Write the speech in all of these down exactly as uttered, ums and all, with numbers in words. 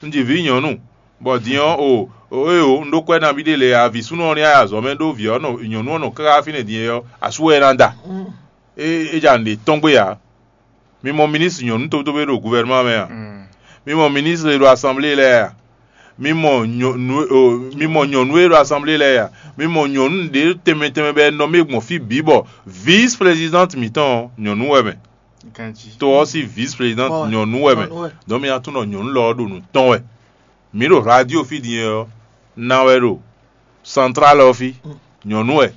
Un ji vǐ nyɔ̌nu, bɔ din ɔ́, o, o, éyo, un ɖó kwɛ́ nabí ɖé lě ǎ, vǐ súnnu ɔ́ ní ayǎ zɔ̌ mɛ ɖó vǐ ɔ́ nɔ nyɔ̌nu ɔ́ nɔ káká fínɛ́ din é ɔ́, asú wɛ é ná da. É, é ja nǔɖé tɔ́n gbé ǎ. Mi mɔ minísitri nyɔ̌nu tóbútóbú e ɖo guvɛrnumá mɛ a? Mi mɔ minísitri e ɖo asanblée lɛ́ɛ a? Mi mɔ nyɔ̌nu e ɖo asanblée lɛ́ɛ a? Mi mɔ nyɔ̌nu ɖě tɛnmɛ tɛnmɛ bɔ è nɔ mɛ gbɔn fí bǐ bɔ vǐs-plezidánti mǐtɔn ɔ́, nyɔ̌nu wɛ mɛ. To ɔ́ sín vǐs-plezidánti nyɔ̌nu wɛ mɛ. Dɔn mi ná tunwun ɖɔ nyɔ̌nu lɔ ɔ́ ɖo nǔ tɔn wɛ. Mǐ ɖo radio fí din ɔ́, ná wɛ ɖo santrál ɔ́ fí, nyɔ̌nu wɛ.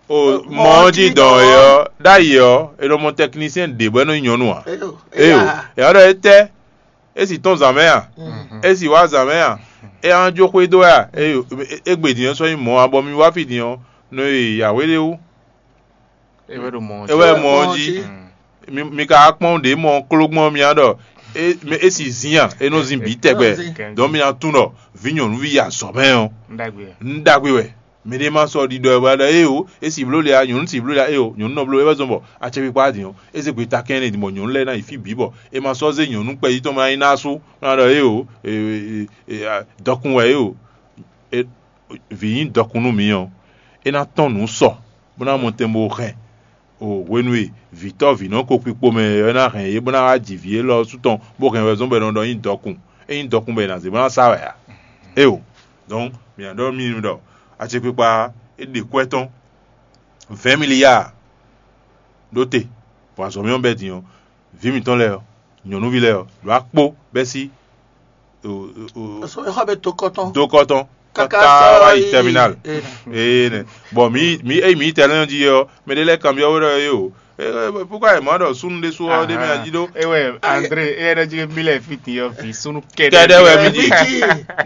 O mɔ ɔ́ jí dɔn e ɔ́, ɖ'ayǐ ɔ́, è nɔ mɔ tɛknisiɛn ɖě bɔ é nɔ nyí nyɔ̌nu ǎ. Éyo, è nǎ ɖɔ étɛ́? É sì tɔ́n zǎn mɛ a? É sì wá zǎn mɛ a? É ná jó xwedó wɛ a? Éyo, égbé din ɔ́ sɔ́ nyí mɔ̌ ǎ, bɔ mi wá fí din ɔ́, nɔ e yǎwe ɖé wú. É wɛ ɖo mɔ ɔ́ jí. É wɛ mɔ ɔ́ jí. Mi ka wá kpɔ́n ɖě mɔ kló gbɔn mia ɖɔ é si zin a? É nɔ zin bǐ tɛgbɛ. Dɔn mi ná tunwun ɖɔ vǐ nyɔ̌nuví yi azɔ̌ mɛ ɔ́, nǔ ɖagbe wɛ. Mɛɖé ma sɔ́ ɖiɖɔ ɛ wɛ ɖɔ éyo, é si bló le a, nyɔ̌nu si bló le a, éyo, nyɔ̌nu nɔ bló é wɛ zɔn bɔ acɛkpikpa din ɔ́, é zé gbeta kɛnɖé din bɔ nyɔ̌nu lɛ́ɛ ná yi fí bǐ bɔ è ma sɔ́ zé nyɔ̌nu kpɛjí tɔn mɛ ná yi ná sú, ná ɖɔ éyo, dɔkun wɛ éyo. Vǐ nyí dɔkun nú mǐ ɔ́, é ná tɔ́n nǔ sɔ, bó ná mɔ tɛn bó hɛn. O hwenu e vǐtɔ́ vǐnɔ ko kpikpo mɛ ɔ́ ná hɛn yě bó ná wá ji vǐ élɔ́ sú tɔn, bó hɛn wɛ zɔ́n bɔ è nɔ ɖɔ nyí dɔkun. É nyí dɔkun bɔ è nǎ zé bó ná sa wɛ ǎ. Éeǒ. Dɔn mǐ ná ɖɔ mì ɖɔ acɛkpikpa é ɖe kwɛ́ tɔn vɛ̌ɛn miliyáa ɖó te, bɔ azɔ̌ mɛ ɔ́ bɛ́ din ɔ́, vǐ mǐtɔn lɛ́ɛ ɔ́, nyɔ̌nuví lɛ́ɛ ɔ́, ɖo akpó bɛ́ sí Sɔ exɔ bɛ to kɔtɔn. Dokɔtɔn Kaka kaka sɔ wa yi yi terminal. Ee nɛ. Bɔn mi mi eyi mi yi terminal ji ɔ, mɛ ɖe lɛ kanbiɔ wɛ ɖɔ ye o. Pukwa yɛ mɔ ɖɔ sunu ɖe su ɔ ɖe mɛ aji ɖo. Ewɛ Andre, e yɛ ɖɔ jí mi lɛ fi ti yɔ fi sunu kɛɖɛ. Kɛɖɛ wɛ mi ji.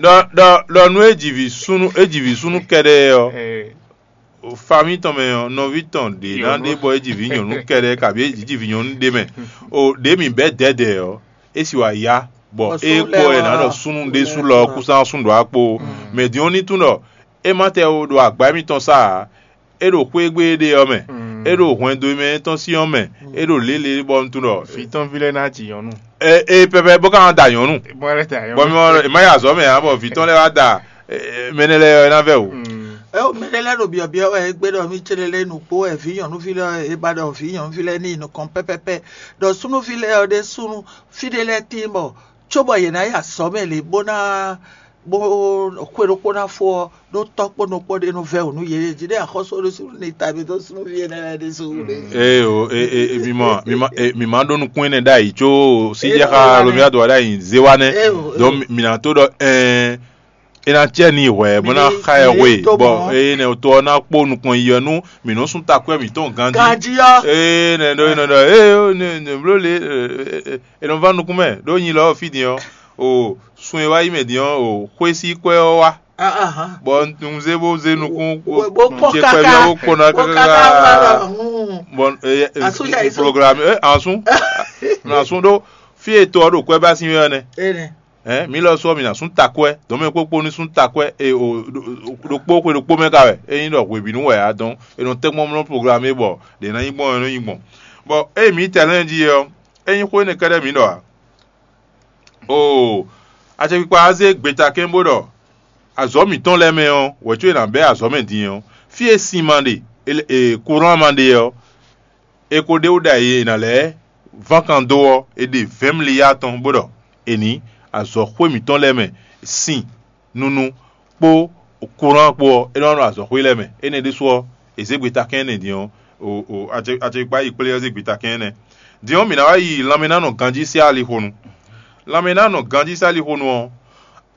Ɖɔ ɖɔ ɖɔ nu eji vi sunu eji vi sunu kɛɖɛ ɔ. Fami tɔn mɛ ɔ, nɔvi tɔn ɖe ná ɖe bɔ eji vi nyɔnu kɛɖɛ kabi eji ji vi nyɔnu ɖe mɛ. O ɖe mi bɛ dɛdɛ ɔ, esi wa ya bɔ e kpɔ ɛ ná ɖɔ sunu ɖe su lɔ kusan sun ɖo akpo. Mɛ din ɔ ní tún ɖɔ e ma tɛ o ɖo agba mitɔn sa a, e ɖo xwé gbe ɖe ɔ mɛ, e ɖo hwɛndo mɛ tɔn si ɔ mɛ, e ɖo lele bɔ un tún ɖɔ. Fi tɔn vi lɛ ná ji nyɔnu. E e pɛpɛ bó ka da nyɔnu. Bɔ lɛ da bɔ nyɔnu. Mi ma ya azɔ mɛ a bɔ vi tɔn lɛ wa da mɛnɛ lɛ ɔ ná vɛ o. Ɛ o mɛ ɖé lɛ́ɛ ɖo byɔ̌byɔ́ wɛ é gbé ɖɔ mí céɖé lɛ́ɛ nukpó wɛ vǐ nyɔ̌nuví lɛ́ɛ é ba ɖɔ vǐ nyɔ̌nuví lɛ́ɛ ní yi nukɔn pɛ́pɛ́pɛ́ ɖɔ súnúví lɛ́ɛ ɔ́ ɖésúnú fí ɖé lɛ́ɛ tíin bɔ cóbɔ yě ná yi azɔ̌ mɛ lě bó ná bó xwe ɖokpó ná fó ɔ́ ɖó tɔ́ kpó nɔ kpó ɖé nú vɛ́ wǔ nú yě jí ɖé axɔ́sú ɖésú ní ta mì dó súnúví énɛ́ lɛ́ɛ ɖésú wú ɖé. Ee o, e, e, e, mi ma, mi ma, e, mi ma ɖó nukún énɛ́ ɖ'ayǐ có síjɛxá Lomiado wá ɖ'ayǐ zé wá nɛ́. Ee o, ee. Donc mi ná tó ɖɔ ɛɛ, é ná cɛ ní hwɛ bó ná xa ɛ hwe bɔ eye nɛ to ɔ́ ná kpó nukɔn yi ɔ́ nú mǐ nɔ́ sún takwɛ́ mǐtɔn ganjí. Ganjí ɔ́. Ee nɛ ɖɔ é nɔ ɖɔ ee ne ne bló le e nɔ va nukún mɛ ɖó nyi lɔ fí din ɔ́ o sun e wá yi mɛ din ɔ́ o xwé sí kwɛ́ ɔ́ wá. Bɔ un zé bó zé nukún bó kpɔ kaka bó kpɔnɔ kaka bɔ programme ɛ asún asún ɖó fí e to ɔ́ ɖo kwɛ́ bá sín wɛ ɔ́ nɛ. Ɛn mǐ lɔ sɔ́ mǐ ná sún takwɛ́ dɔ̌nmɛ kpókpó ní sún takwɛ́ e o ɖokpó xwe ɖokpó mɛ ka wɛ é nyí ɖɔ hwebǐnu wɛ ǎ dɔn è nɔ tɛ́nkpɔ́n mlɔ́ programme é bɔ ɖě ná nyí gbɔn ɔ́ é nɔ nyí gbɔn. Bɔ ée mǐ tɛ lɛ́ɛ jí é ɔ́, é nyí xó énɛ́ kɛ́ɖɛ́ mǐ ɖɔ ǎ. Oo, acɛkpikpa ɔ́ zé gbetakɛ́n bó ɖɔ azɔ̌ mǐtɔn lɛ́ɛ mɛ ɔ́, wɛ̌ có è nǎ bɛ́ azɔ̌ mɛ din ɔ́, fí e sin ma ɖe, e kurán ma ɖe ɔ́, è ko ɖe wú ɖ'ayǐ è nǎ lɛ́ ván kan dó ɔ́, è ɖe vɛ̌mliyá tɔn bó ɖɔ è nǐ azɔ̌xwé mǐtɔn lɛ́ɛ mɛ sin nunu kpó kurán kpó ɔ́, é nɔ nɔ azɔ̌xwé lɛ́ɛ mɛ. Énɛ́ ɖésú ɔ́, è zě gbetakɛ́n énɛ́ din ɔ́, acɛkpikpa yi kplé ɔ́ zé gbetakɛ́n énɛ́. Din ɔ́, mǐ ná wá yi lanmɛnánɔ ganjí sín alixo nu. Lanmɛnánɔ ganjí sín alixo nu ɔ́,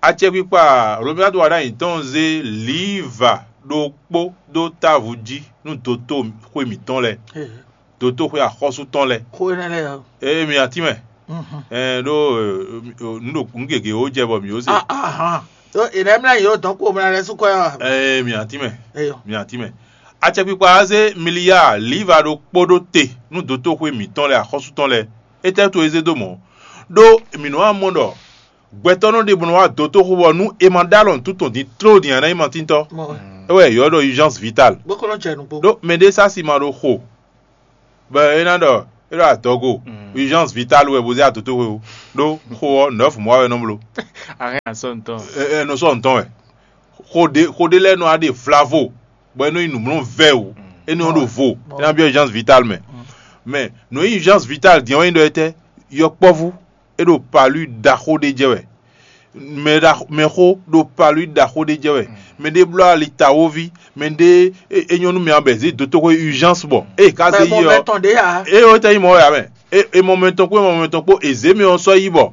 acɛkpikpa Hlomyadu wa ɖ'ayǐ tɔn zé liva ɖokpó dó távo jí nú dotóxwé mǐtɔn lɛ́ɛ, dotóxwé axɔ́sú tɔn lɛ́ɛ. Xó énɛ́ lɛ́ɛ ɔ́. Ee, mi atínmɛ. Ɛɛ ɖó nǔ ɖo nǔ gěgé wó jɛ bɔ mǐ wó se. Ahan. Ɖó è nɛ́ mlá yě ɖo dɔ̌n kpo mlá lɛ́ɛ sú kɔ́ ɛ wa. Ee, mi atínmɛ. Eyɔ. Mi atínmɛ. Acɛkpikpa ɔ́ zé miliyáa liva ɖokpó ɖó te nú dotóxwé mǐtɔn lɛ́ɛ axɔ́sú tɔn lɛ́ɛ. Étɛ́ to é zé dó mɔ̌? Ɖó mǐ nɔ wá mɔ ɖɔ gbɛtɔ́ nɔ ɖe bɔ nɔ wá dotóxwé bɔ nú è ma ɖó alɔ nǔtúntɔn din tló din ǎ ná nyí matíntɔ́. É wɛ è ylɔ́ ɖɔ urgence vitale. Bó ko nɔ jɛ nǔgbó. Ɖó mɛɖé sá si ma ɖo xo bɔ é ná ɖɔ É ɖo adɔgo, urgence vitale wɛ bó zé adótoxwe o. Ɖó xó ɔ́, nɔ́ fún mɔ wɛ nɔ bló. Arrêt à son temps. Ɛ ɛ nɔ sɔ ntɔn wɛ. Xó ɖé xó ɖé lɛ́ɛ nɔ wá ɖe vlavo, bɔ é nɔ nyi nǔmlɔ́ vɛ́ o. É nɔ ɖo vo, é ná byɔ́ urgence vitale mɛ. Mais nǔ e nyí urgence vitale din ɔ́ é nyí ɖɔ étɛ́, yɔkpɔ́vú é ɖo palu ɖaxó ɖé jɛ wɛ. Mɛ ɖaxó mɛxó ɖo palu ɖaxó ɖé jɛ wɛ. Mɛ ɖé bló ali tawoví, mɛ ɖé é nyɔ́ nú mɛ ɔ́ bɔ è zě dó toxo urgence bɔ ée ka zé yi ɔ́, tɔn ɖé ya. Eye wɛ tɛ nyí mɔ wɛ amɛ. E mɔ mɛ tɔn kpó e mɔ mɛ tɔn kpó e zě mɛ ɔ́ sɔ́ yi bɔ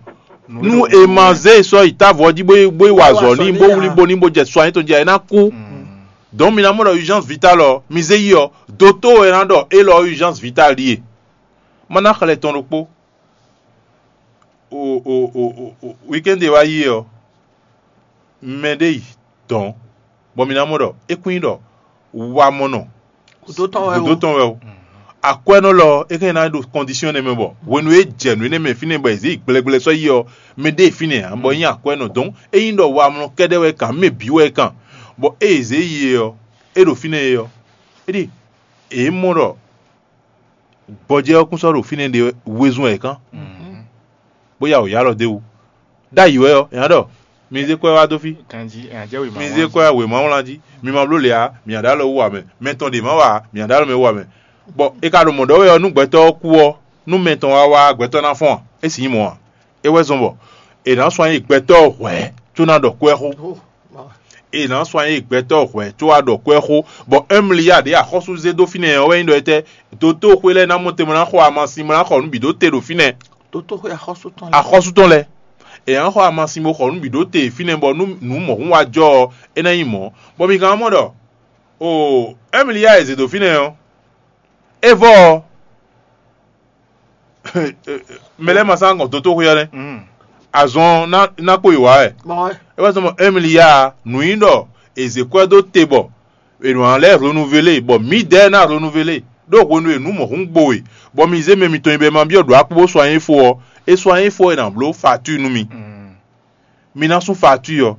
nú e ma zé e sɔ́ yi távo ɔ́ jí bó yi bó yi wa azɔ̌ n'i bó wlí bo ní bó jɛ sɔ anyi tɔn jí é ná kú. Donc mi ná mɔ ɖɔ urgence vitale ɔ́ mi zé yi ɔ́, doto wɛ ná ɖɔ élɔ́ urgence vitale ɖíe. Má ná xlɛ tɔn ɖokpó. O o o o weekend e wá yi é ɔ́, mɛ ɖé yi dɔ̌n, bɔ mi ná mɔ ɖɔ é kún nyí ɖɔ wamɔnɔ Gǔdo tɔn wɛ gǔdo o. Tɔn wɛ o. Akwɛ́nɔ lɔ é kɛn ná ɖo kɔndisiyɔn nɛ mɛ bɔ hwenu e jɛ nǔ énɛ́ mɛ fínɛ́ bɔ è zě yi gblɛgblɛ sɔ́ yi ɔ́, mɛ ɖé fínɛ́ ǎ bɔ nyí akwɛ́nɔ dɔn é nyí ɖɔ wamlɔ kɛ́ɖɛ́ wɛ kan mɛ bǐ wɛ kan, bɔ é è zě yi é ɔ́, é ɖo fínɛ́ é ɔ́, é ɖi è mɔ ɖɔ gbɔjɛ́ ɔ́ kún sɔ́ ɖo fínɛ́ ɖe wezun wɛ kán, bó ya wǒ yá lɔ d'é wú. Ɖ'ayǐ wɛ ɔ́, è nǎ ɖɔ mi zé kwɛ́ wá dó fí. Ganji ɛ jẹ́ wèé ma Mi zé kwɛ́ wá wěma wlán jí, mi ma bló lě ǎ, mi ǎ ɖó alɔ wú ǎ mɛ, mɛ tɔn ɖě ma wa ǎ, mi ǎ ɖó alɔ mɛ wú ǎ mɛ. Bɔ è ka ɖo mɔ̌ ɖɔ wɛ ɔ́, nú gbɛtɔ́ ɔ́ kú ɔ́, nú mɛ tɔn wá wá gbɛtɔ́ ná fɔ́n a? É sì nyí mɔ̌ ǎ. É wɛ zɔ́n bɔ è nǎ sɔ́ nyi gbɛtɔ́ hwɛ̌ có ná ɖɔ kwɛ́ xó. È nǎ sɔ́ nyi gbɛtɔ́ hwɛ̌ có wá ɖɔ kwɛ́ xó, bɔ Ɛmliya ɖě axɔ́sú zé dó fínɛ́ ɔ́ wɛ nyí ɖɔ étɛ́? Dotóxwé lɛ́ɛ ná mɔ te bó ná xɔ amasin bó ná xɔ nǔ bǐ dó te ɖo fínɛ́. Dotóxwé axɔ́sú tɔn. Axɔ́sú tɔn lɛ́ɛ, è nǎ xɔ amasin bó xɔ nǔ bǐ ɖó te fínɛ́ bɔ nú nǔ mɔ̌hun wá jɔ ɔ́, é ná nyí mɔ̌. Bɔ mi ka mɔ ɖɔ o Ɛmliya e zě dó fínɛ́ ɔ́, é vɔ ɔ́, mɛ lɛ́ɛ ma sán gɔn dotóxwé ɔ́ nɛ́. Azɔn ná ná kpo yi wǎ wɛ. Bɔn É wá zɔ́n mɔ Ɛmliya nǔ nyí ɖɔ è zě kwɛ́ dó te bɔ è nɔ lɛ́ renouvelé bɔ mǐdɛɛ ná renouvelé ɖó hwenu e nǔ mɔ̌hun gbo we, bɔ mi zé mɛ mitɔn nyi bɔ è ma byɔ́ ɖǒ akpó bó sɔ́ anyi fó ɔ́, é sɔ́ anyi fó è nǎ bló facture nú mi. Mi ná sú facture ɔ́,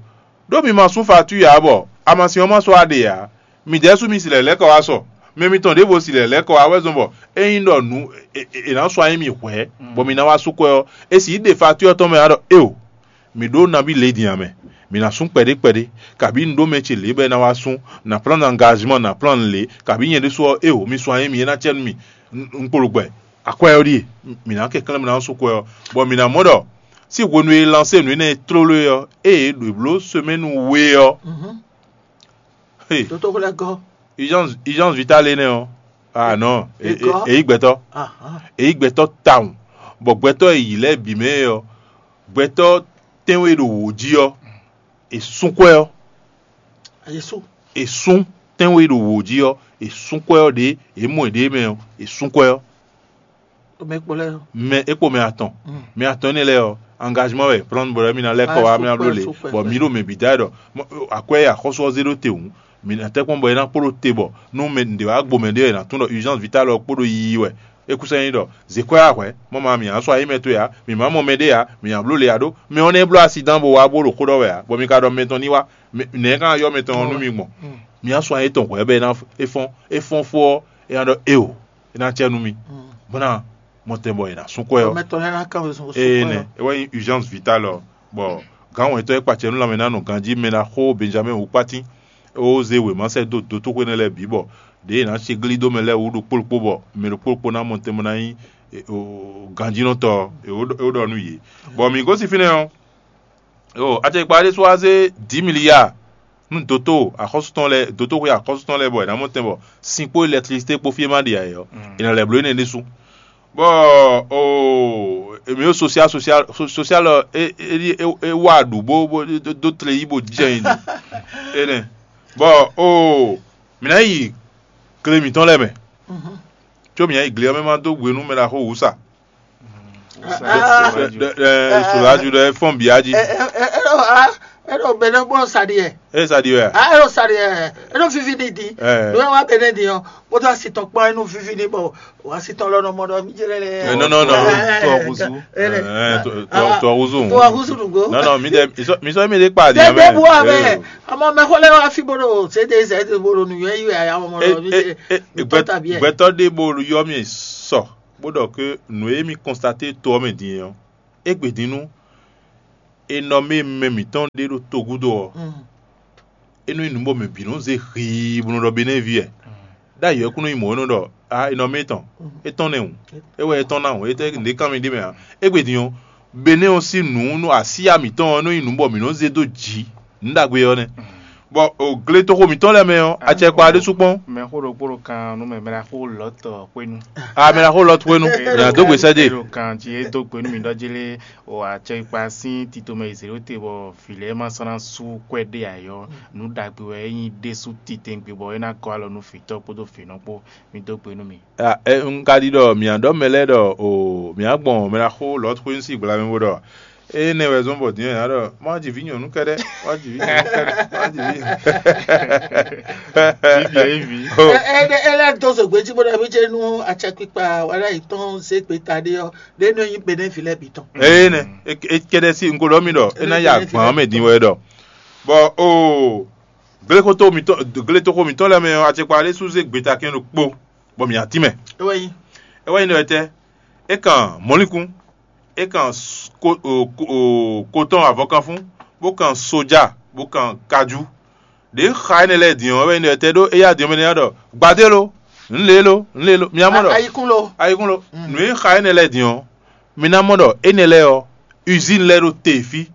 ɖó mi ma sú facture ǎ bɔ amasin ɔ́ ma sɔ́ wá ɖe ǎ. Midɛɛ sú mi si lɛ̌ lɛ́ kɔ wá sɔ. Mɛ mitɔn ɖěvo si lɛ̌ lɛ́ kɔ wá wɛ zɔ́n bɔ é nyí ɖɔ nǔ è nǎ sɔ́ anyi mi hwɛ̌, bɔ mi ná wá sú kwɛ́ ɔ́, è sǐ ɖe facture ɔ́ tɔn mɛ ǎ ɖɔ éeǒ. Mǐ ɖó nabí lě din ǎ mɛ. Mǐ ná sú kpɛɖé kpɛɖé, kabǐ un ɖó mɛ ce lě bɔ é ná wá sú, nǎ plán angazimɔ nǎ plán lě, kabǐ nyɛ ɖésú ɔ́, éeǒ, mi sú anyi mi é ná cɛ nú mì. Un kpo ɖo gbɛ, akwɛ́ ɔ́ ɖíe, mǐ ná kɛnklɛ́n bó ná sú kwɛ́ ɔ́, bɔ mǐ ná mɔ ɖɔ sín hwenu e lansé nǔ énɛ́ e tlóló é ɔ́, ée è ɖǒ bló semɛ́nu we ɔ́, Dotóxwé lɛ́ gɔ́. Urgence vitale énɛ́ ɔ́, ah non, èyí gbɛtɔ́. Èyí gbɛtɔ́ tawun, bɔ gbɛtɔ́ e yǐ lɛ́ɛ bǐ mɛ é ɔ́, gbɛtɔ́ tɛ́nwe e ɖo wǒ jí ɔ́, è sún kwɛ́ ɔ́. Ayesú. È sún tɛ́nwe e ɖo wǒ jí ɔ́, è sún kwɛ́ ɔ́ ɖě, è mɔ è ɖě mɛ ɔ́, è sún kwɛ́ ɔ́. Mɛ kpó lɛ́ɛ. Mɛ é kpo mɛ atɔn. Mɛ atɔn énɛ́ lɛ́ɛ ɔ́, engagement wɛ plan bɔ mi ná lɛ́ kɔ wá mi ná bló lě, bɔ mi ɖo mɛ bǐ da ɖɔ akwɛ́ e axɔ́sú ɔ́ zé ɖó te hǔn, mi ná tɛ́ kpɔ́n bɔ é ná kpo ɖó te bɔ nú mɛ ɖě wá gbo mɛ ɖé wɛ è nǎ tún ɖɔ urgence vitale ɔ́ kpo ɖo yiyi wɛ. É kú sɛ́ nyí ɖɔ zě kwɛ́ wá hwɛ̌, mɔ ma mǐ ná sɔ́ ayǐ mɛ towe ǎ, mǐ má mɔ mɛ ɖé ǎ, mǐ ná bló lě ǎ ɖó mɛ ɔ́ nɛ́ bló asidan bó wá bó ɖo xó ɖɔ wɛ ǎ, bɔ mi ka ɖɔ mɛ tɔn ní wá. Nɛ̌ ka ná yɔ́ mɛ tɔn ɔ́ nú mi gbɔn? Mi ná sɔ́ ayǐ tɔn hwɛ̌ bɔ é ná é fɔ́n é fɔ́n fó ɔ́, é ná ɖɔ éeǒ, é ná acɛ nú mi, bó ná mɔ tɛn bɔ è nǎ sú kwɛ́ ɔ́. Mɛ tɔn lɛ́ɛ ná kán wezun sún Ee kwɛ́ nɛ, ɔ́. É wɛ nyí urgence vitale ɔ́, bɔ gǎn wɛ̌ntɔ́ e kpacɛ nú lanmɛ ná nɔ ganjí mɛ ná xó Benjamin wú kpátín, é wó zé wěma sɛ́ dó dotóxwé nɛ́ lɛ́ɛ bǐ bɔ ɖěe è nǎ ce glí dó mɛ lɛ́ɛ wú ɖokpó ɖokpó bɔ mɛ ɖokpó ɖokpó ná mɔ tɛn bó ná nyí e, o, ganjínɔtɔ́ ɔ́, é wó ɖɔ- é wó ɖɔ nú yě. Bɔ mǐ gosín fínɛ́ ɔ́, o, acɛkpa ɖésú wá zé dǐ miliya nú doto axɔ́sú tɔn lɛ́ɛ, dotóxwé axɔ́sú tɔn lɛ́ɛ bɔ è nǎ mɔ tɛn bɔ sin kpó elɛkitrisité kpó fí é má ɖe ǎ é ɔ́, è nɔ lɛ́ bló énɛ́ ɖésú. Bɔ o, mǐ ɖo social social social ɔ, é é é é wá ɖu bó bó dó- dó tle yí bó jɛ nyi ɖi énɛ́. Bɔ o, mǐ ná yi gle mǐtɔn lɛ́ɛ mɛ, có mǐ ná yi gle ɔ́ mɛ má dó hwenu mɛ ɖaxó wǔ sa. Solaju ɖɔ é fɔ́n bǐ á jí. Eɖo bɛnɛ gbɔ saɖi yɛ. É sa ɖi wɛ a? Eɖo saɖi yɛ. Eɖo vivi ni di. Eh. Ɖo wa bɛnɛ di ɔ. Kpótó asi tɔn kpɔn enu vivi ni bɔ o asi tɔn lɔ nɔ mɔ ɖɔ mi jɛ lɛ. Eh, non, non, non. Tɔ huzu. Tɔ huzu. Tɔ huzu nugbo. Non, non, mi de mi sɔ mi de kpa di Tɛ amɛ. bu amɛ. Ɔmɔ mɛ xɔ lɛ wa fi bolo se de zɛ de bolo nu yɛ yi ya mɔ ɖɔ mi jɛ. Gbɛtɔ tabi yɛ. Gbɛtɔ de bolo yɔ mi sɔ. bó ɖɔ ke nǔ e mì kɔnstaté to ɔ́ mɛ din é ɔ́, égbé din nú è nɔ mɛ mɛ mǐtɔn ɖé ɖo togúdo ɔ́, é nɔ nyí nǔ bɔ mɛ bǐ nɔ zé hii bó nɔ ɖɔ Benɛ́ɛví wɛ. Ɖ'ayǐ ɔ́ kún nɔ nyí mɔ̌ é nɔ ɖɔ a è nɔ mɛ tɔn, é tɔn nɛ́ hǔn, é wɛ é tɔn ná hǔn, é tɛ́ nǔɖé kan mì ɖ'é mɛ ǎ. Égbé din ɔ́, Benɛ́ɛ ɔ́ sín nǔ nú asíya mǐtɔn ɔ́ nɔ nyí nǔ bɔ mǐ nɔ zé dó jǐ nǔ ɖagbe ɔ́ nɛ́. Bɔ gletoxo mǐtɔn lɛ́ɛ mɛ ɔ́, acɛkpa ɖésú kpɔ́n. Mɛ xó ɖokpó ɖo kan nú mɛ mɛ ɖo xó lɔ̌tɔ xwénu. A mɛ ɖo xó lɔ̌tɔ xwénu, nya dó gbe sɛ́ dé. Ɖo kan jí é dó gbe nú mǐ ɖɔ jí lé o acɛkpa sín tito mɛ yi zěɖóte bɔ vǐ lɛ́ɛ ma sɔ́ ná sú kwɛ́ ɖé ǎ ɔ́, nǔ ɖagbe wɛ é nyí ɖésú titɛngbé bɔ é ná gɔ́ alɔ nú vǐtɔ́ kpódó vǐnɔ kpó. Mi dó gbe nú mì. Un ka ɖi ɖɔ mǐ ɖɔ mɛ lɛ́ɛ ɖɔ o mǐ gbɔn mɛ ná xó Lɔ̌t xwé sín gbla mɛ bó ɖɔ énɛ́ wɛ zɔ́n bɔ din ɔ́ è nǎ ɖɔ má ji vǐ nyɔ̌nu kɛ́ɖɛ́, má ji vǐ nyɔ̌nu kɛ́ɖɛ́, má ji vǐ. Bíbí é vǐ. Ó, É é é lɛ́ dó zogbe jí bó ɖɔ mí ce nú acɛkpikpa wala yi tɔn zé gbe ta ɖé ɔ́ ɖé nɔ nyi Benɛ́vi lɛ́ɛ bǐ tɔn. Eye nɛ, é é kɛ́ɖɛ́ sí un ko ɖɔ mì ɖɔ é ná ya gbǎn mɛ din wɛ ɖɔ. Bɔ o gletoxo mǐtɔn gletoxo mǐtɔn lɛ́ɛ mɛ ɔ́, acɛkpa ɖé sú zé gbeta kɛn ɖokpó, bɔ mǐ ná tínmɛ. É wɛ nyí. É wɛ nyí ɖɔ tɛ́, é kan mɔ̌likún, é kan s- ko- o- ko- o- kotɔn avɔkanfún, bó kan soja, bó kan kajú. Ɖě xa énɛ́ lɛ́ɛ din ɔ́, é wɛ nyí ɖɔ tɛ́ ɖó éyá din ɔ́ mɛ nɛ́ ɖɔ gbadé lo, nǔ lě lo, nǔ lě lo, mi ná mɔ ɖɔ Ayikún lo. Ayikún lo. Nǔ e xa énɛ́ lɛ́ɛ din ɔ́, mi ná mɔ ɖɔ énɛ́ lɛ́ɛ ɔ́, usine lɛ́ɛ ɖo te fí,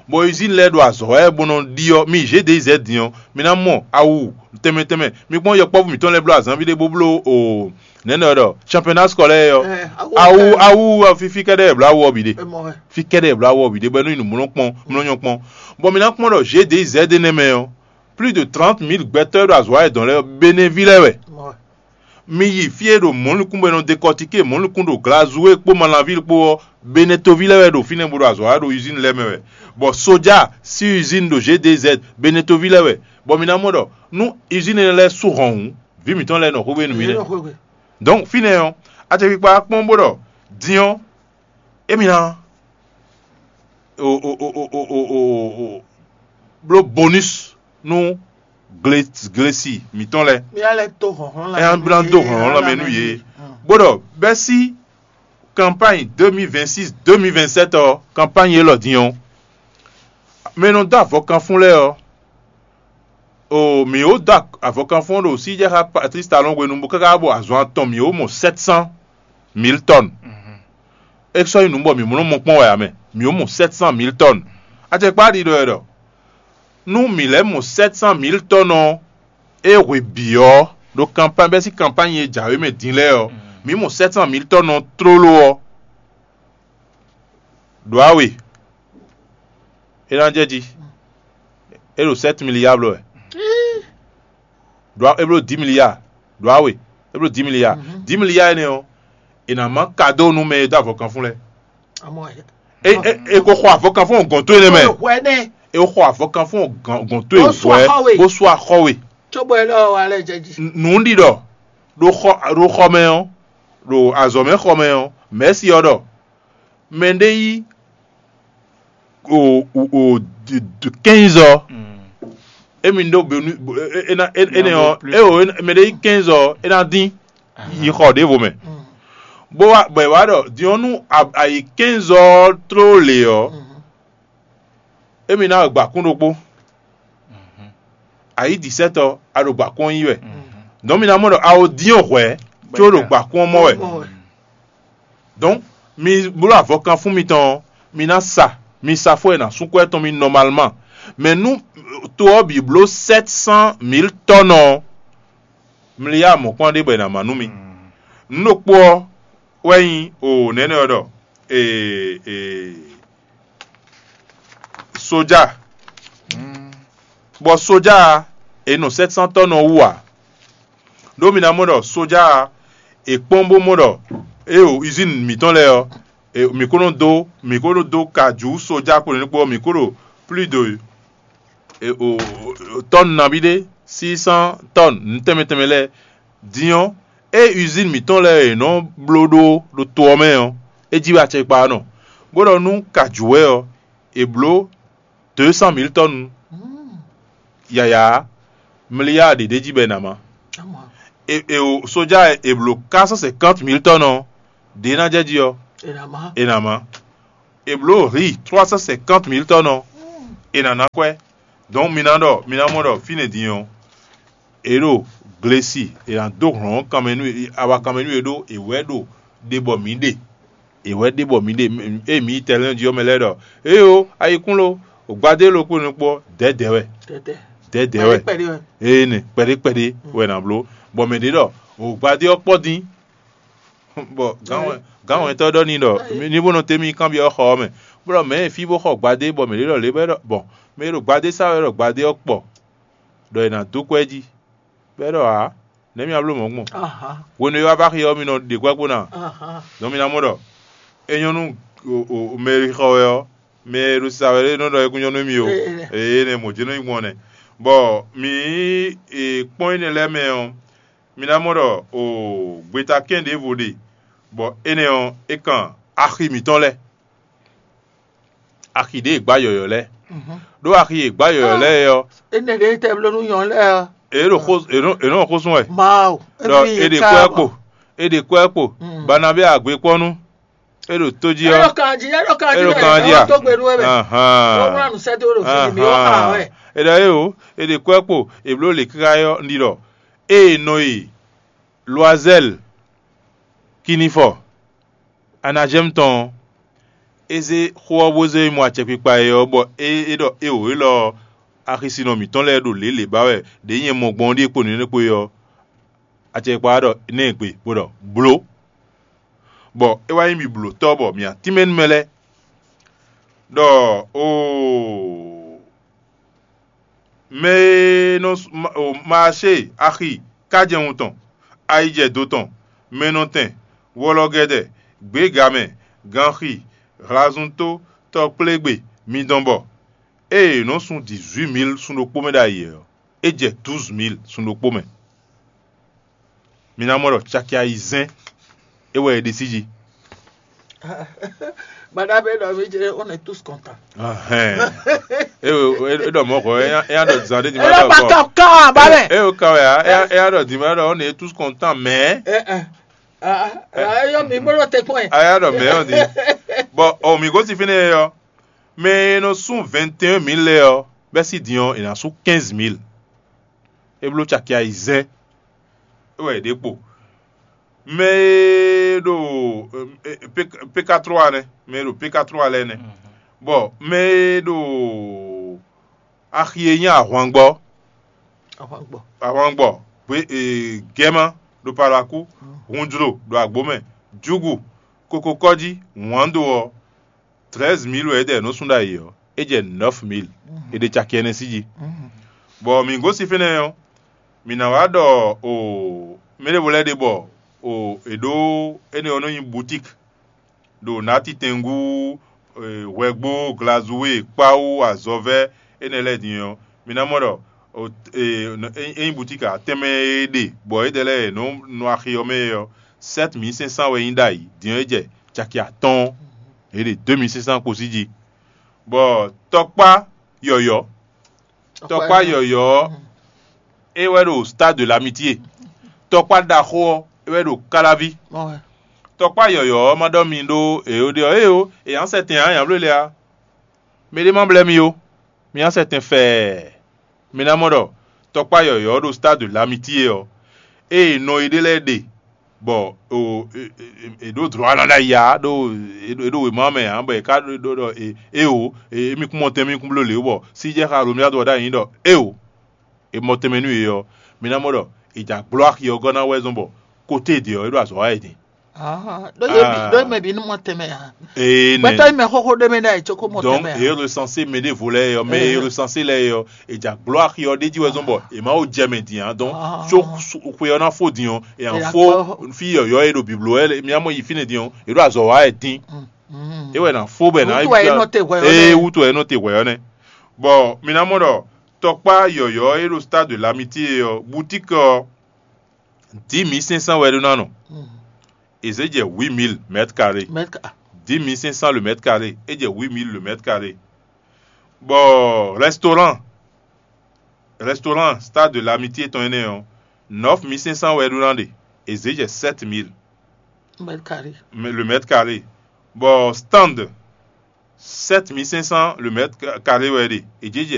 bɔ usine lɛ́ɛ ɖo azɔ̌ wɛ bó nɔ ɖi ɔ́, mi zě ɖě zɛ din ɔ́, mi ná mɔ awu tɛnmɛ tɛnmɛ. Mi kpɔ́n yɔkpɔ́vú mǐtɔn lɛ́ɛ bló azǎn ví ɖé bó bló o nɛ̌ nɔ ɖɔ championnat scolaire ɔ́. Awu awu ɔ́, fí fí kɛ́ɖɛ́ è bló awu ɔ́ bǐ ɖe. Fí kɛ́ɖɛ́ è bló awu ɔ́ bǐ ɖe bɔ é nɔ nyi nǔmlɔ́kpɔn mlɔ́nyɔ́kpɔn. Bɔ mi ná kpɔ́n ɖɔ zě ɖě zɛ ɖé nɛ́ mɛ ɔ́, plus de trente mille gbɛtɔ́ e ɖo azɔ̌ wa yědɔn lɛ́ɛ ɔ́, Benɛ́ví lɛ́ɛ wɛ. Mi yi fí e ɖo mɔ̌likún bɔ è nɔ dekɔtikée mɔ̌likún ɖo Glazue kpó Malanvíl kpó ɔ́, Benetoví lɛ́ɛ wɛ ɖo fínɛ́ bó ɖo azɔ̌ wa ɖo usine lɛ́ɛ mɛ wɛ, bɔ soja sín usine ɖo G D Z Benetoví lɛ́ɛ wɛ, bɔ mi ná mɔ ɖɔ nú usine énɛ́ lɛ́ɛ sú hɔn hǔn, vǐ mǐtɔn lɛ́ɛ nɔ xwé nú mi nɛ́. Donc fínɛ́ ɔ́, acɛkpikpa kpɔ́n bó ɖɔ din ɔ́, émi ná o o o o o o o bló bonus nú gle glesi mǐtɔn lɛ́ɛ. Mi ná lɛ́ dó hlɔ̌nhlɔ́n É ná bó ná dó hlɔ̌nhlɔ́n mɛ nú yě. Bó ɖɔ bɛ́ sí campagne deux mille vingt-six deux mille vingt-sept ɔ́, campagne élɔ́ din ɔ́, mɛ e nɔ dó avɔkanfún lɛ́ɛ ɔ́, o mǐ ó dó avɔkanfún ɔ́ ɖo síjɛxá Patrice Talon hwenu bó káká bɔ azɔn atɔn mǐ ó mɔ sept cent mille tonnes. É sɔ́ nyí nǔ bɔ mǐ mlɔ́ mɔ kpɔ́n wɛ ǎ mɛ, mǐ ó mɔ sept cent mille tonnes. Acɛkpá ɖiɖɔ wɛ ɖɔ nú mǐ lɛ́ mɔ sept cent mille tonnes ɔ́, é hwe bǐ ɔ́, ɖo kanpány bɛ́ sín kanpány e jǎwe mɛ din lɛ́ɛ ɔ́, mǐ mɔ sept cent mille tonnes ɔ́ tlóló ɔ́, ɖǒ awe, é ná jɛ jí. É ɖo sept milliards bló wɛ. Ɖǒ é bló dix milliards. Ɖǒ awe, é bló dix milliards. Dix milliards énɛ́ ɔ́, è nǎ má kadó nú mɛ e dó avɔkanfún lɛ́ɛ. É é é ko xɔ avɔkanfún gɔ̌n tó énɛ́ mɛ. Hwɛ nɛ É xɔ avɔkanfún gɔ̌n tó Bó sú hwɛ axɔ we. Bó sú axɔ we. Cóbɔ é lɔ wa lɛ jɛ jí. Nǔɖiɖɔ ɖo xɔ ɖo xɔ mɛ ɔ́, ɖo azɔ̌ mɛ xɔ mɛ ɔ́, mɛ̌si ɔ́ ɖɔ mɛ ɖé yí o o o quinze ɔ, émi ɖó benu énɛ́ ɔ́, é o mɛ ɖé yí quinze ɔ, é ná dín yi xɔ ɖěvo mɛ. Bó wá bɔ è wá ɖɔ din ɔ́ nú a- a yi quinze ɔ tló lě ɔ́, émi ná wɛ gbǎkún ɖokpó. A yí dix-sept ɔ, a ɖo gbǎkún ɔ́ yí wɛ. Donc mi ná mɔ ɖɔ a o dín ɔ́ hwɛ̌, có ɖo gbǎkún ɔ́ mɔ wɛ. Donc mi bló avɔkanfún mitɔn ɔ́, mi ná sa, mi sa fó e nǎ sú kwɛ́ tɔn mi normalement. Mais nú to ɔ́ bǐ bló sept cent mille tonnes ɔ́, mliya mɔ̌kpán ɖé bɔ è nǎ má nú mi. Nǔ ɖokpó ɔ́ wɛ nyí o nɛ̌nɛ ɔ́ ɖɔ ee ee soja, bɔ soja ɔ́, è nɔ sept cent tonnes ɔ́ wú ǎ. Ɖó mi ná mɔ ɖɔ soja ɔ́, è kpɔ́n bó mɔ ɖɔ ée o usine mǐtɔn lɛ́ɛ ɔ́, mǐ ko nɔ dó mǐ ko nɔ dó ka jǔ soja kpo nɛ́ kpó ɔ́, mǐ ko ɖo plus de tonnes nabí ɖé, six cent tonnes nǔ tɛnmɛ tɛnmɛ lɛ́ɛ. Din ɔ́, ée usine mǐtɔn lɛ́ɛ e nɔ bló ɖó ɖo to ɔ́ mɛ ɔ́, é jí wɛ acɛkpa ɔ́ nɔ, bó ɖɔ nú ka jǔ wɛ ɔ́, è blǒ deux cent mille tonnes yǎyá mliya ɖě ɖ'é jí bɔ è nǎ má. E e o soja e è blǒ quatre cent cinquante mille tonnes ɔ́, Ɖě ná jɛ jí ɔ́, è nǎ má. È nǎ má. È blǒ hǐ trois cent cinquante mille tɔ́ nɔ, è nǎ ná kwɛ́. Dɔ̌n mi ná ɖɔ mi ná mɔ ɖɔ fínɛ́ din ɔ́, è ɖo glesi, è nǎ dó hlɔ̌n kanmɛ nú awa kanmɛ nú è ɖó è wɛ ɖo ɖe bɔ mǐ ɖe. È wɛ ɖe bɔ mǐ ɖe ée mǐ yi tɛlɛ́nɔ jí ɔ́ mɛ lɛ́ɛ ɖɔ: "Éyo, ayikún lo, gbadé lo kpó nukpó ɔ́, dɛ̌dɛ̌ wɛ. Dɛ̌dɛ̌ wɛ. Kpɛɖé kpɛɖé wɛ. Ee nɛ kpɛɖé kpɛɖé wɛ nǎ bló. Bɔ mɛ ɖě ɖɔ: "O gbadé ɔ́ kpɔ́ dín." Bɔ gǎnwɛntɔ́ ɖɔ n'i ɖɔ: "Ní bó nɔ té mì kanbyɔ́ xɔ ɔ́ mɛ, bó ɖɔ mɛ̌ e fí bó xɔ gbadé bɔ mɛ ɖě ɖɔ lě bɔ é ɖɔ bɔ mɛ e ɖo gbadé sa wɛ ɖɔ gbadé ɔ́ kpɔ, ɖɔ è nǎ dó kú ɛ jí, bɔ é ɖɔ ǎ, nɛ̌ mi ná bló mɔ̌ gbɔn? Hwenu e wá bá xi ɔ́, mi nɔ ɖe kwɛ́ kpo ná." Dɔn mi ná mɔ ɖɔ é nyɔ́ nú mɛ e xɔ wɛ ɔ́, mɛ e ɖo sa wɛ é nɔ ɖɔ é kún nyɔ́ nú émí ó. Eye énɛ́ mɔ̌ jɛ́n nɔ nyí gbɔn nɛ́. Bɔ mǐ kpɔ́n énɛ́ lɛ́ɛ mɛ ɔ́, mi ná mɔ ɖɔ o gbeta kɛ́n ɖěvo ɖe, bɔ énɛ́ ɔ́, é kan axi mǐtɔn lɛ́ɛ, axi ɖě e gbǎ yɔ̌yɔ́ lɛ́ɛ. Ɖó axi e gbǎ yɔ̌yɔ́ lɛ́ɛ é ɔ́, Énɛ́ ɖě tɛ bló nú nyɔ̌nu lɛ́ɛ ɔ́. É ɖo xó é nɔ é nɔ xó sún wɛ. Mawu. Ɖɔ é ɖe kɔ ɛ kpo, é ɖe kɔ ɛ kpo, Banabé agbekpɔ́nú, é ɖo tó jí É ɔ́, ɖo kan jí, é ɖo kan é jí ɖo kan jí a? Tó gbe nú wɛ mɛ. Ó wlá nǔ sɛ́ dó ɖo fí mi ó xa wɛ. É ɖɔ é o, é ɖe kɔ ɛ kpo, è bló lě káká é ɔ́, un ɖi ɖɔ ée nɔ e Loazɛ́l, Kinifɔ, Anajɛ́mu tɔn ɔ́, é zé xó ɔ́ bó zé mɔ acɛkpikpa e ɔ́, bɔ é é ɖɔ éeǒ élɔ́ ɔ́, axisinɔ mǐtɔn lɛ́ɛ ɖo lě lě ba wɛ ɖě nyɛ mɔ gbɔn ɔ́ ɖíe kpo nǔ énɛ́ kpo é ɔ́, acɛkpikpa ɔ́ ɖɔ nɛ́ gbe, bó ɖɔ: "Blǒ." Bɔ é wá nyí mì blǒtɔ́ bɔ mǐ atínmɛ nú mɛ lɛ́ɛ ɖɔ oo, mɛ e nɔ Maacée, axi, kájɛwun tɔn, ayijɛdo tɔn, mɛnɔtɛn, wɔlɔgɛdɛ, gběgamɛ, ganxi, hlazuntó, tɔkplégbé, midɔn bɔ, ée è nɔ́ sun dǐzwímil sun ɖokpó mɛ ɖ'ayǐ ɔ́, é jɛ dǔzmil sun ɖokpó mɛ. Mi ná mɔ ɖɔ caki ayizɛ́n é wɛ è ɖe sí jí. Baɖa bɛ ɖɔ mí jɛ on est tous contents. Ahɛn. É ɖɔ mɔ xɔ é nya ɖɔ zan ɖé di ma ɖɔ kɔ. Ká ká ba mɛ. É ka wɛ a é nya ɖɔ di ma ɖɔ on est tous contents mais. Ɛ ɛ. Ayɔ mi bolo te kpɔn. Aya ɖɔ mɛ ɔ́ di. Bɔn o mi gosín fínɛ́ ɔ́, mɛ e nɔ sún vingt et un mille lɛ́ɛ ɔ́, bɛ́ sí din ɔ́, è nǎ sú quinze mille. É bló caki ayizɛ́n. É wɛ è ɖe kpo. Mɛ e ɖo P K trois nɛ́, mɛ e ɖo P K trois lɛ́ɛ nɛ́. Bɔ mɛ e ɖo axi e nyí ahwangbɔ, ahwangbɔ, gbe gɛ́ma ɖo palakú, hunjlo ɖo agbǒ mɛ, júgu, kokokɔ́jí, wǎndo ɔ́, treize mille wɛ é ɖɛ nǔ sún ɖ'ayǐ ɔ́, é jɛ neuf mille. È ɖe caki ɛnɛ sí jí. Bɔ mǐ gosín fínɛ́ ɔ́, mǐ ná wá ɖɔ o mɛ ɖěvo lɛ́ɛ ɖe bɔ o è ɖǒ énɛ́ ɔ́ nɔ nyí boutique ɖo nǎtitɛngú, hwɛgbó, glazúwe, kpáwú, azɔ̌vɛ́, énɛ́ lɛ́ɛ din ɔ́, mi ná mɔ ɖɔ ényí butíki atɛ́nmɛ e ɖe bɔ éɖɛ́ lɛ́ɛ nɔ nɔ axi ɔ́ mɛ é ɔ́, sɛ́t mǐ sɛ́n sán wɛ nyí ɖ'ayǐ, din ɔ́ é jɛ caki atɔ́ɔ́n, è ɖe dó mǐ sɛ́n sán kpo sí jí. Bɔ tɔkpá yɔ̌yɔ́, tɔkpá yɔ̌yɔ́ ɔ́, é wɛ ɖo Stade de l'Amitié. Tɔkpá ɖaxó ɔ́, é wɛ ɖo Káláví. Tɔkpá yɔ̌yɔ́ ɔ́ ma ɖɔ mi ɖó èyó ɖé ɔ́, éyo, è nyǎ sɛ tɛn ǎ, nyǎbló lɛ́ɛ ǎ. Miɖée ma blɛ́ mi ó, mi nyá sɛ tɛn fɛɛ. Mi ná mɔ ɖɔ tɔkpá yɔ̌yɔ́ ɔ́ ɖo Stade de l'Amitié ɔ́, ée nɔ e ɖé lɛ́ɛ ɖe bɔ è ɖǒ dlɔ̌ ná ɖ'ayǐ ǎ ɖó è ɖo wěma mɛ ǎ, bɔ è ka ɖɔ éeǒ, émí kún mɔ tɛn, émí kún bló lě ó, bɔ sí jɛ xá Alomiadu ɔ́ ɖ'ayǐ ɖɔ éeǒ, è mɔ tɛnmɛ nú yě ɔ́, mi ná mɔ ɖɔ è jǎ gblɔ́ axi ɔ́ gɔ́ ná wɛ zɔ́n bɔ kóté e ɖe ɔ́, é ɖo azɔ̌ wa wɛ din. Ɖó yě bǐ ɖó mɛ bǐ ní mɔ tɛnmɛ ǎ. Ee nɛ. Gbɛtɔ́ yi mɛ xóxó ɖé mɛ ɖ'ayǐ cókó mɔ Donc tɛnmɛ ǎ. Eye recensé mɛ ɖěvo lɛ́ɛ yɔ, mɛ eye recensé lɛ́ɛ yɔ, è jǎ gblɔ́ axi ɔ́ ɖ'é jí wɛ zɔ́n bɔ è má wo jɛ mɛ din ǎ. Donc tso xwe ɔ́ ná fó din ɔ́, è nǎ fó fí yɔ̌yɔ́ e ɖo bǐbló wɛ, mì á mɔ yi fínɛ́ din ɔ́, è ɖo azɔ̌ wa wɛ dín. É wɛ ná fó bɔ è ná Wútu wɛ é nɔ te hwɛ ɔ́ ee nɛ́. Wútu wɛ é nɔ te hwɛ ɔ́ nɛ́. Bɔ mi ná mɔ ɖɔ tɔkpá yɔ̌yɔ́ e ɖo Stade de l'Amitié ɔ́, boutique ɔ́, dix mille cinq cents wɛ ɖó ná nɔ. È zě jɛ huit mille mètres carrés. Mètre ca- Dix mille cinq cents le mètre carré, é jɛ huit mille le mètre carré. Bɔ restaurant, restaurant Stade de l'Amitié tɔn énɛ́ ɔ́, neuf mille cinq cents wɛ ɖó ná ɖe, è zě jɛ sept mille. Mètre carré. Le mètre carré. Bɔ stand sept mille cinq cents le mètre carré wɛ ɖe. È jɛ jɛ